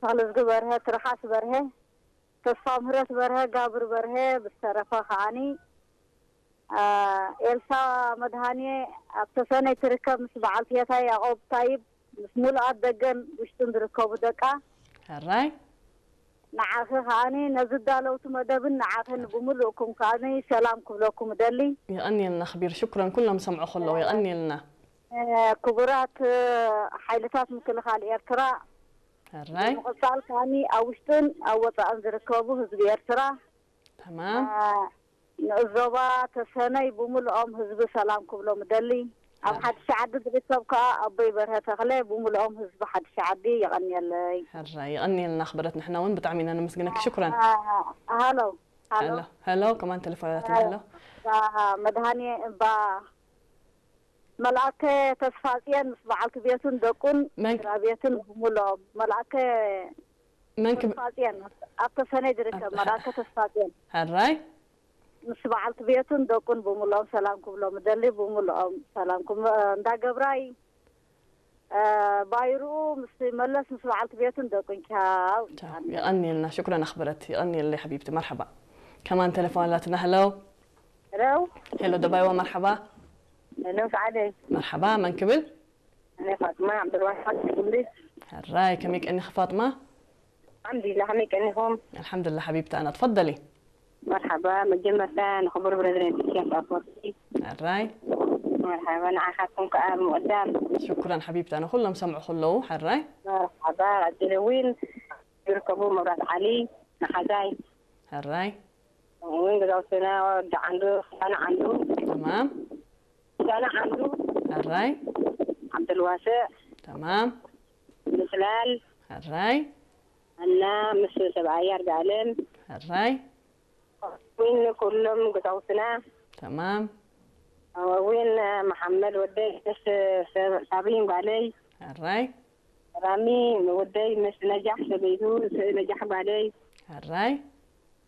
ተኽለዝጊ በርሀ፣ ትርሓስ በርሀ፣ ተስፋ ምህረት በርሀ፣ ጋብር በርሀ፣ ብዝተረፈ ከዓኒ፣ አ፣ ኤልሳ መድሃኔ ኣብ ተሰነይ ትርከብ፣ ምስ በዓል ቴታይ ያዕቆብ ታይብ፣ ምስ ሙሉኣት ደገን ውሽጥን ዝርከቡ ደቃ። ሕራይ። ንዓኺ ከዓኒ ነዚ ዳለውቲ መደብን ንዓኽን ብምሉእኩም ከዓኒ ሰላም ክብለኩም እደሊ። የቐንየልና ክቢር፣ ሽኩረን። ኩሎም ሰምዑ ከለዉ የቐንየልና። እ፣ ክቡራት፣ እ፣ ሓይልታት ምክልኻል ኤርትራ፣ ሕራይ። ብምቕጻል ከዓኒ ኣብ ውሽጥን ኣብ ወጻእን ዝርከቡ ህዝቢ ኤርትራ፣ ተማም። እ፣ ንእዞባ ተሰነይ ብምሉኦም ህዝቢ ሰላም ክብሎም እደሊ። ኣብ ሕራይ። ሓድሽ ዓዲ ዝርከብ ከኣ ኣቦይ በርሀ ተኽለ ብምሉኦም ህዝቢ ሓድሽ ዓዲ የቐንየለይ። ሕራይ፣ የቐንየልና ክብረት፣ ንሕና እውን ብጣዕሚ ኢና ነመስግነኪ። ሽኩረን። እ፣ ሃሎ፣ ሃሎ። ሄሎ፣ ሄሎ፣ ከማን ቴሌፎን ኣላትና። ሄሎ። እባ መድሃኔ፣ እባ መልኣከ ተስፋጽዮን ምስ በዓልቲ ቤቱን ደቁን መን? ስድራ ቤቱን ብምሉኦም። መልኣከ መን ክብ-? ተስፋጽዮን፣ ኣብ ተሰነይ ዝርከብ ኣታ-፣ መልኣከ ተስፋጽዮን። ሕራይ። ምስ በዓልቲ ቤቱን ደቁን ብምሉኦም ሰላም ክብሎም እደሊ፣ ብምሉኦም ሰላም ክብ-፣ እንዳ ገብራይ፣ እ፣ ባይርኡ ምስ መለስ ምስ በዓልቲ ቤቱን ደቁን ቻው። ቻው። የቐንየልና፣ ሽኩረን ኣኽብረት፣ የቐንየለይ ሓቢብቲ፣ መርሓባ። ከማን ቴሌፎን ኣላትና፣ ሄሎ። ሄሎ። ሄሎ፣ ደባይዋ፣ መርሓባ። ሄሎ፣ ሰዓደይ። መርሓባ፣ መን ክብል? እኔ ፋጥማ ዓብደልዋሳዕ ትብሊ። ሕራይ፣ ከመይ ቀኒኺ ፋጥማ? ኣልሓምዱሊላህ፣ ከመይ ቀኒኹም? ኣልሓምዱሊላህ ሓቢብቲ፣ ኣና ትፈደሊ። መርሓባ፣ መጀመርታ ንኽቡር ፕረዚደንት ኢሳያስ ኣፈወርቂ። ሕራይ። መርሓባ፣ ንዓኻትኩም ከኣ ብምቕዳም። ሽኩረን ሓቢብቲ፣ ኣነ ኩሎም ሰምዑ ከለዉ፣ ሕራይ። መርሓባ፣ ቀጺለ እውን ዝርከቡ መብራት ዓሊ፣ መሓዛይ። ሕራይ። ከምኡ እውን ገዛውትና ወዲ ዓንዱ፣ ክዳነ ዓንዱ። ተማም። ክዳነ ዓንዱ። ሕራይ። ዓብደልዋስዕ። ተማም። ምጽላል። ሕራይ። እና ምስ ሰብኣያ ኣርጋኣለም። ሕራይ። እውን ኩሎም ገዛውትና። ተማም። እውን መሓመድ ወደይ ምስ ሰብ-፣ ሳብሪን ጓለይ። ሕራይ። ራሚ ወደይ ምስ ነጃሕ ሰበይቱ፣ ስ-፣ ነጃሕ ጓለይ። ሕራይ።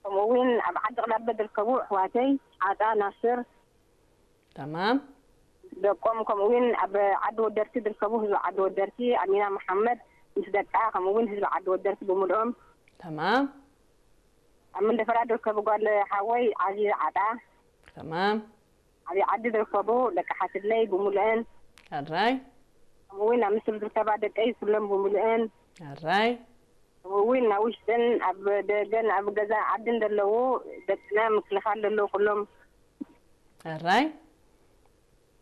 ከምኡ እውን ኣብ ዓዲ ቅዳበ ዝርከቡ ኣሕዋተይ፣ ዓጣ ናስር። ተማም። ደቆም፣ ከምኡ እውን ኣብ ዓዲ ወደርቲ ዝርከቡ ህዝቢ ዓዲ ወደርቲ፣ ኣሚና መሓመድ ምስ ደቃ፣ ከምኡ እውን ህዝቢ ዓዲ ወደርቲ ብምልኦም። ተማም። ኣብ መንደፈራ ዝርከቡ ጓል ሓወይ ዓዚዝ ዓጣ። ተማም። ኣብ ዓዲ ዝርከቡ ደቂ ሓትለይ ብምልአን። ሕራይ። ከምኡ እውን ኣብ ምስል ዝርከባ ደቀይ ኩሎም ብምልአን። ሕራይ። ከምኡ እውን ኣብ ውሽጥን ኣብ ደገን ኣብ ገዛ ዓድን ዘለዉ ደቅና ምክልኻል ዘለዉ ኩሎም። ሕራይ።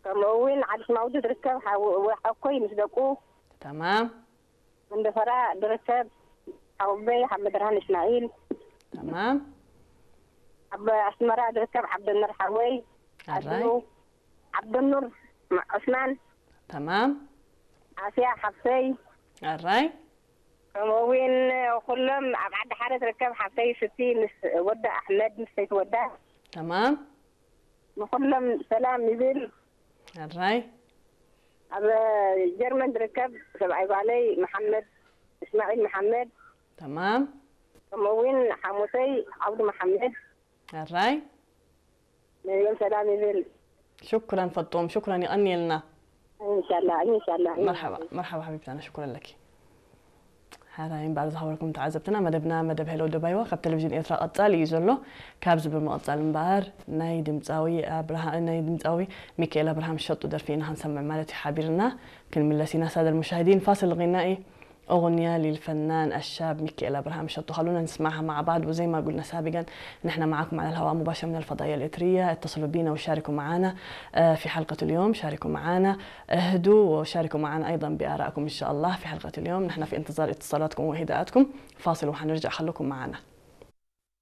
ከምኡ እውን ዓዲ ስማውዲ ዝርከብ ሓው-፣ ሓኮይ ምስ ደቁ። ተማም። መንደፈራ ዝርከብ ሓወቦይ ሓመድርሃን እስማዒል። ተማም። ኣብ ኣስመራ ዝርከብ ዓብደኑር ሓወይ። ሕራይ። ኣድኑ ዓብደኑር ዑስማን። ተማም። ኣስያ ሓፍተይ። ሕራይ። ከምኡ እውን ኩሎም ኣብ ዓዲ ሓረ ዝርከብ ሓፍተይ ስቲ ምስ ወዳ ኣሕመድ ምስ ሰይቲ ወዳ። ተማም። ንኹሎም ሰላም ይብል። ሕራይ። ኣብ ጀርመን ዝርከብ ሰብኣይ ጓለይ መሓመድ እስማዒል መሓመድ። ተማም። ከምኡ እውን ሓሙተይ ዓብዱ መሓመድ። ሕራይ። ነዚኦም ሰላም ይብል። ሽኩረን ፈጦም፣ ሽኩረን፣ የቐንየልና። ኢንሻላህ፣ ኢንሻላህ። መርሓባ፣ መርሓባ ሓቢብታና፣ ሽኩረን ለኪ። ሕራይ እምበኣር ዝኸበርኩም ተዓዘብትና፣ መደብና መደብ ሄሎ ደባይዋ ካብ ቴሌቪዥን ኤርትራ ቀጻሊ እዩ ዘሎ። ካብዚ ብምቕጻል እምበኣር ናይ ድምጻዊ ኣብርሃ-፣ ናይ ድምጻዊ ሚካኤል ኣብርሃም ሸጡ ደርፊ ኢና ክንሰምዕ ማለት እዩ ሓቢርና። ክንምለስ ኢና ሳደል ሙሻሂዲን ፋስል ጊናኢ أغنية للفنان الشاب ميكائيل أبراهام شطو. خلونا نسمعها مع بعض وزي ما قلنا سابقا، نحن معكم على الهواء مباشرة من الفضائية الإريترية. اتصلوا بينا وشاركوا معنا، آه، في حلقة اليوم، شاركوا معنا، اهدوا وشاركوا معنا أيضا بآرائكم إن شاء الله في حلقة اليوم. نحن في انتظار اتصالاتكم وهداءاتكم. فاصل وحنرجع، خلوكم معنا.